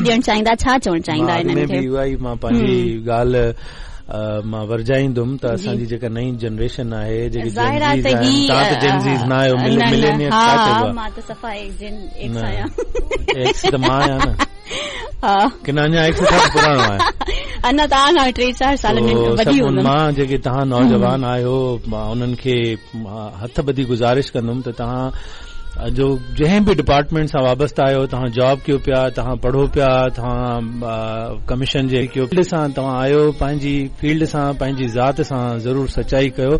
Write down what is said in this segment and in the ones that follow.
ڏيڻ چاهيندا ڇا چوڻ چاهيندا انهن کي؟ اها ئي مان پنهنجي ڳالهه مان ورجائيندم ته اسان جي جيڪا نئين جنريشن آهي جيڪي ظاهر آهي ته هي توهان ته جين زيز نه آهيو ملينيئر ڇا چئبو آهي؟ مان ته صفا ايڪس آهيان. ايڪس ته مان آهيان نه. ها ڪي نه اڃا ايڪس کان پراڻو آهي. اڃا توهان کان 3 4 سال وڏي هوندم. مان جيڪي توهان نوجوان آهيو مان انهن کي هٿ ٻڌي گذارش ڪندم ته توهان جو جنهن به ڊپارٽمينٽ سان وابسته آهيو توهان جاب ڪيو پيا توهان پڙهو پيا توهان ڪميشن جي فيلڊ سان توهان آهيو پنهنجي فيلڊ سان پنهنجي ذات سان ضرور سچائي ڪيو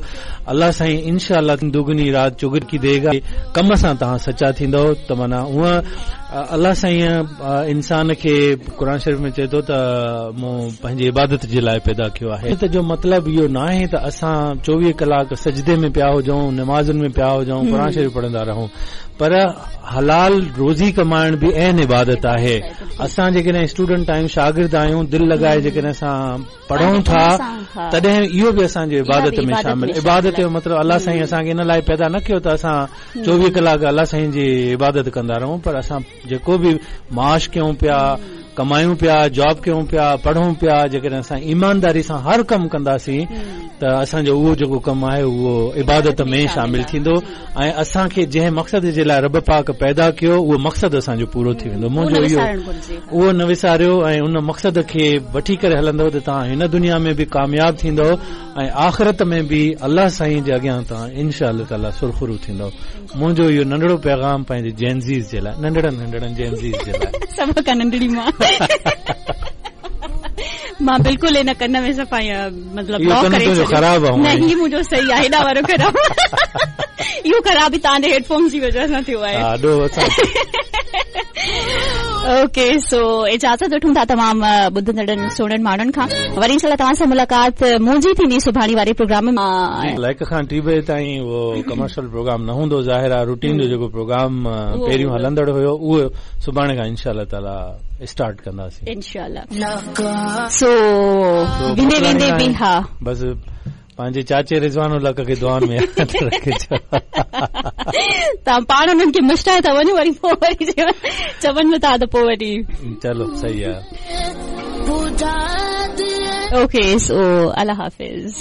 الله سائين انشاء الله دگني رات چوگني ديگا ڪم سان توهان سچا ٿيندؤ ته معنيٰ هونء الله سائين انسان کي قرآن شريف ۾ چئي ٿو ته مون پنهنجي عبادت جي لاء پيدا ڪيو آهي ته جو مطلب اهو ناهي ته اسان 24 ڪلاڪ سجدي ۾ پيا هجون نمازن ۾ پيا هجون قرآن شريف پڙهندا رهون پر حلال روزي ڪمائڻ به عين عبادت آهي اسان جيڪڏهن اسٽوڊنٽ آهيون شاگرد آهيون دل لڳائي جيڪڏهن اسان پڙهون ٿا تڏهن اهو به اسان جي عبادت ۾ شامل عبادت جو مطلب الله سائين اسان کي ان لاء پيدا نه ڪيو ته اسان 24 ڪلاڪ الله سائين جي عبادت ڪندا رهون پر اسان جيڪو به معاش ڪيون پيا ڪمايون پيا جاب ڪيون پيا پڙهون پيا جيڪڏهن اسان ايمانداري سان هر ڪم ڪنداسين ته اسان جو اهو جيڪو ڪم آهي اهو عبادت ۾ شامل ٿيندو ۽ اسان کي جنهن مقصد جي لاء رب پاڪ پيدا ڪيو اهو مقصد اسان جو پورو ٿي ويندو منهنجو اهو اهو نه وساريو ۽ ان مقصد کي وٺي ڪري هلندؤ ته توهان هن دنيا ۾ به ڪامياب ٿيندؤ ۽ آخرت ۾ به الله سائين جي اڳيان توهان انشاء الله تعالي سرخرو ٿيندؤ. منهنجو اهو ننڍڙو پيغام پنهنجي جين زيز جي لاء، ننڍڙن ننڍڙن جين زيز جي لاء. سڀ کان ننڍڙي مان. مان بلڪل ان ڪن ۾ صفا مطلب اهو بلاڪ ڪن ڪري تنهنجو ڇڏيو. خراب آهي نه هونئن ئي. هي منهنجو صحيح آهي هيڏا وارو خراب اهو خراب به توهان جي هيڊ فونز جي وجهه سان ٿيو آهي. ها ڏوهه اسان اوڪي سو اجازت وٺون ٿا تمام ٻڌندڙن سهڻن ماڻهن کان وري انشاء الله توهان سان ملاقات منهنجي ٿيندي سڀاڻي واري پروگرام ۾. هڪ کان 2 بجي تائين اهو ڪمرشل پروگرام نه هوندو ظاهر آهي روٽين جو جيڪو پروگرام پهريون هلندڙ هيو اهو سڀاڻي کان انشاء الله تعالي اسٽارٽ ڪنداسين. انشاء الله سو ويندي ويندي به ها. بس پنهنجي چاچي رضوان الحق کي دعائن ۾ ياد رکجو. توهان پاڻ انهن کي مشرائي ٿا وڃو وري پوء وري چون به ٿا ته پوء وري. چلو صحيح آ. اوڪي سو الله حافظ.